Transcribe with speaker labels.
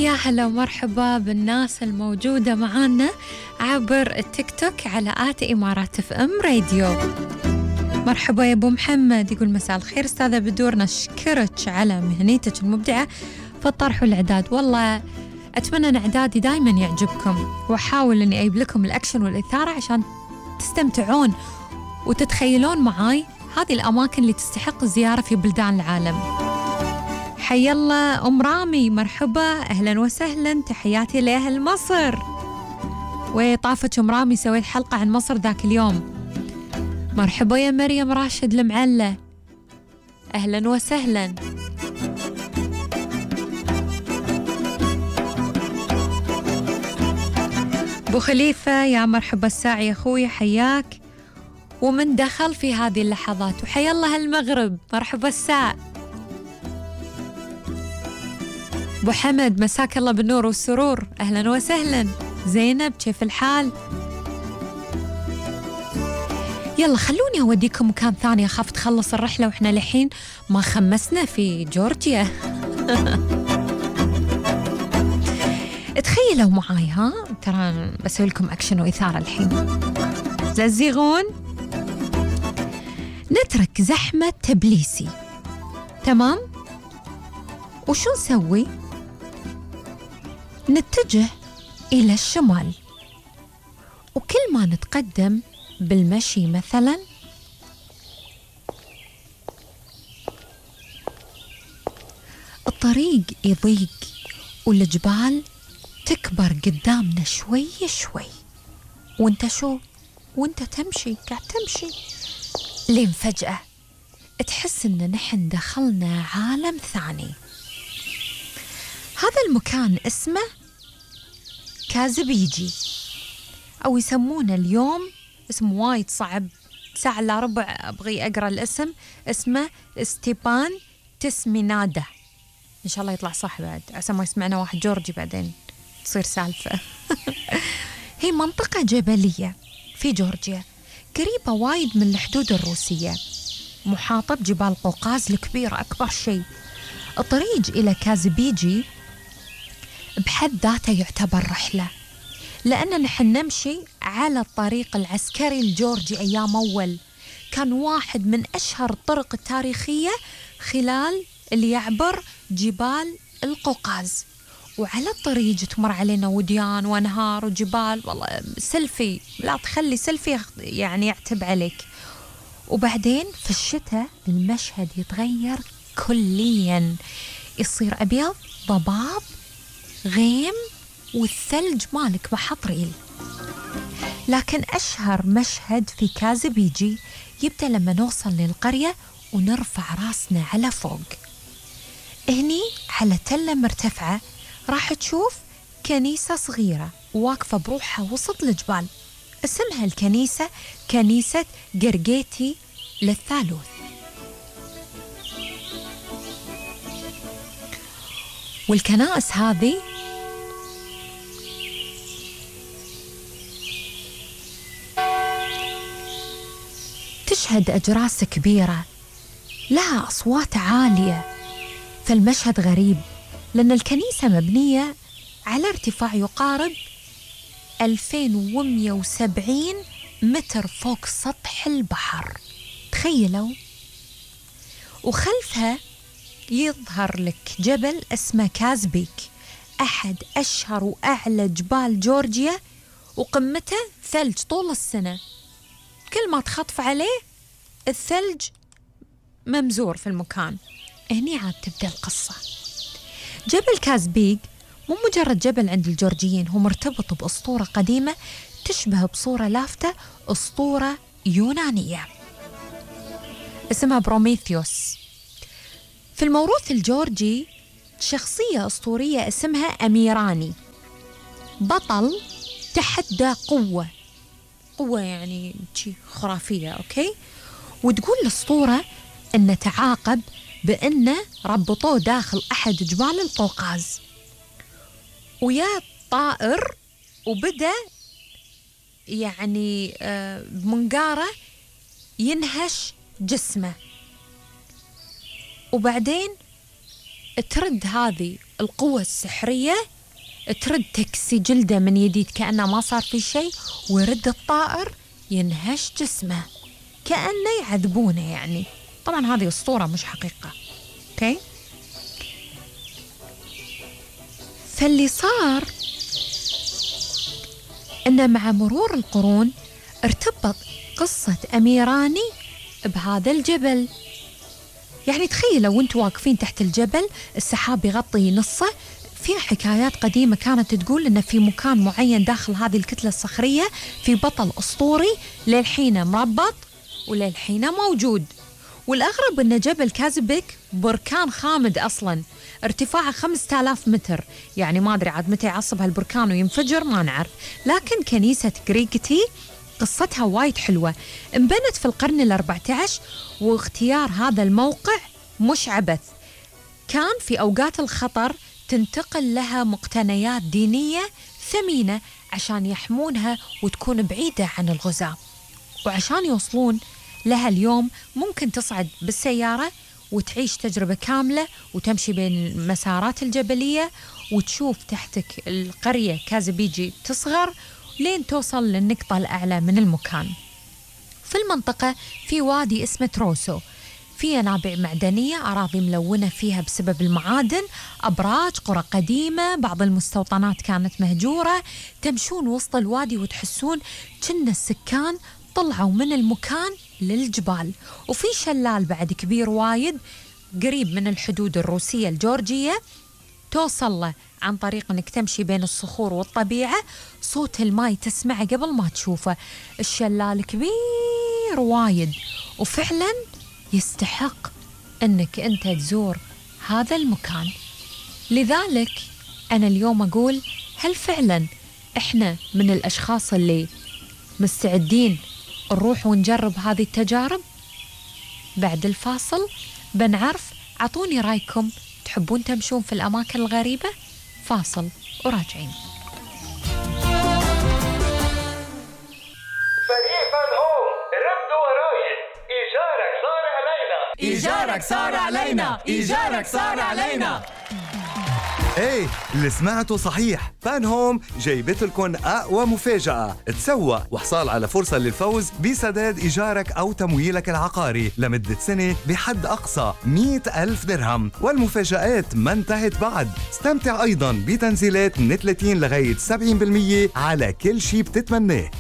Speaker 1: يا هلا ومرحبا بالناس الموجودة معانا عبر التيك توك على @إمارات FM راديو. مرحبا يا أبو محمد، يقول مساء الخير أستاذة بدور، نشكرك على مهنيتك المبدعة في الطرح والإعداد. والله أتمنى أن إعدادي دايما يعجبكم، وأحاول أني أجيب لكم الأكشن والإثارة عشان تستمتعون وتتخيلون معاي هذه الأماكن اللي تستحق الزيارة في بلدان العالم. حي الله أم رامي، مرحبا أهلا وسهلا، تحياتي لأهل مصر. وطافت أم رامي سويت حلقة عن مصر ذاك اليوم. مرحبا يا مريم راشد المعلة، أهلا وسهلا. أبو خليفة يا مرحبا الساعي يا أخوي، حياك ومن دخل في هذه اللحظات. وحيا الله المغرب، مرحبا الساعة. أبو حمد مساك الله بالنور والسرور، أهلا وسهلا. زينب كيف الحال؟ يلا خلوني أوديكم مكان ثاني، أخاف تخلص الرحلة وإحنا لحين ما خمسنا في جورجيا. تخيلوا معاي، ها ترى بسوي لكم أكشن وإثارة الحين. ززيغون. نترك زحمة تبليسي، تمام؟ وشو نسوي؟ نتجه إلى الشمال، وكل ما نتقدم بالمشي مثلا الطريق يضيق والجبال تكبر قدامنا شوي شوي، وانت شو؟ وانت تمشي، قاعد تمشي، لين فجأة تحس ان نحن دخلنا عالم ثاني. هذا المكان اسمه كازبيجي، أو يسمونه اليوم اسم وايد صعب، ساعة إلا ربع أبغي أقرأ الاسم، اسمه ستيبان تسمينادا. إن شاء الله يطلع صح بعد، عسى ما يسمعنا واحد جورجي بعدين تصير سالفة. هي منطقة جبلية في جورجيا، قريبة وايد من الحدود الروسية، محاطة بجبال قوقاز الكبيرة أكبر شيء. الطريق إلى كازبيجي بحد ذاته يعتبر رحلة، لأننا نحن نمشي على الطريق العسكري الجورجي أيام أول، كان واحد من أشهر الطرق التاريخية خلال اللي يعبر جبال القوقاز. وعلى الطريق تمر علينا وديان وأنهار وجبال، والله سيلفي لا تخلي سيلفي يعني يعتب عليك. وبعدين في الشتاء المشهد يتغير كليا، يصير أبيض ضباب غيم، والثلج مالك بحطريل. لكن أشهر مشهد في كازبيجي يبدأ لما نوصل للقرية ونرفع راسنا على فوق. هني على تلة مرتفعة راح تشوف كنيسة صغيرة واقفة بروحها وسط الجبال، اسمها الكنيسة كنيسة قرقيتي للثالوث. والكنائس هذه تشهد أجراس كبيرة لها أصوات عالية، فالمشهد غريب لأن الكنيسة مبنية على ارتفاع يقارب 2170 متر فوق سطح البحر، تخيلوا. وخلفها يظهر لك جبل اسمه كازبيك، أحد أشهر وأعلى جبال جورجيا، وقمته ثلج طول السنة، كل ما تخطف عليه الثلج ممزور في المكان. هني عاد تبدأ القصة. جبل كازبيك مو مجرد جبل عند الجورجيين، هو مرتبط بأسطورة قديمة تشبه بصورة لافتة أسطورة يونانية اسمها بروميثيوس. في الموروث الجورجي شخصية أسطورية اسمها أميراني، بطل تحدى قوة يعني شيء خرافية، أوكي. وتقول الأسطورة أنه تعاقب بأنه ربطوه داخل أحد جبال القوقاز ويا طائر، وبدأ يعني بمنقارة ينهش جسمه، وبعدين ترد هذه القوة السحرية ترد تكسي جلده من يديد كأنه ما صار في شيء، ويرد الطائر ينهش جسمه كأنه يعذبونه يعني. طبعا هذه أسطورة مش حقيقة. أوكي، فاللي صار إنه مع مرور القرون ارتبط قصة أميراني بهذا الجبل. يعني تخيلوا وانتوا واقفين تحت الجبل السحاب يغطي نصه. في حكايات قديمة كانت تقول إن في مكان معين داخل هذه الكتلة الصخرية في بطل أسطوري للحين مربط وللحين موجود. والأغرب إن جبل كازبك بركان خامد أصلاً، ارتفاعه 5000 متر. يعني ما أدري عاد متى يعصب هالبركان وينفجر ما نعرف. لكن كنيسة غريغتي قصتها وايد حلوة، انبنت في القرن ال14، واختيار هذا الموقع مش عبث. كان في أوقات الخطر تنتقل لها مقتنيات دينية ثمينة عشان يحمونها وتكون بعيدة عن الغزاة. وعشان يوصلون لها اليوم ممكن تصعد بالسيارة وتعيش تجربة كاملة وتمشي بين المسارات الجبلية وتشوف تحتك القرية كازبيجي تصغر لين توصل للنقطة الأعلى من المكان. في المنطقة في وادي اسمه تروسو، في ينابيع معدنية، أراضي ملونة فيها بسبب المعادن، أبراج، قرى قديمة، بعض المستوطنات كانت مهجورة. تمشون وسط الوادي وتحسون كأن السكان طلعوا من المكان للجبال. وفي شلال بعد كبير وايد قريب من الحدود الروسية الجورجية، توصل له عن طريق أنك تمشي بين الصخور والطبيعة. صوت الماء تسمعه قبل ما تشوفه. الشلال كبير وايد وفعلا يستحق أنك أنت تزور هذا المكان. لذلك أنا اليوم أقول هل فعلا إحنا من الأشخاص اللي مستعدين نروح ونجرب هذه التجارب؟ بعد الفاصل بنعرف. عطوني رأيكم، تحبون تمشون في الأماكن الغريبة؟ فاصل وراجعين.
Speaker 2: فريق فان هوم ردوا وراي. إيجارك صار علينا،
Speaker 3: إيجارك صار علينا، إيجارك صار علينا.
Speaker 4: ايه اللي سمعته صحيح، فان هوم جايبت لكم أقوى مفاجأة. تسوق وحصال على فرصة للفوز بسداد إيجارك أو تمويلك العقاري لمدة سنة بحد أقصى 100,000 درهم. والمفاجآت ما انتهت بعد. استمتع أيضاً بتنزيلات من 30 لغاية 70% على كل شي بتتمناه.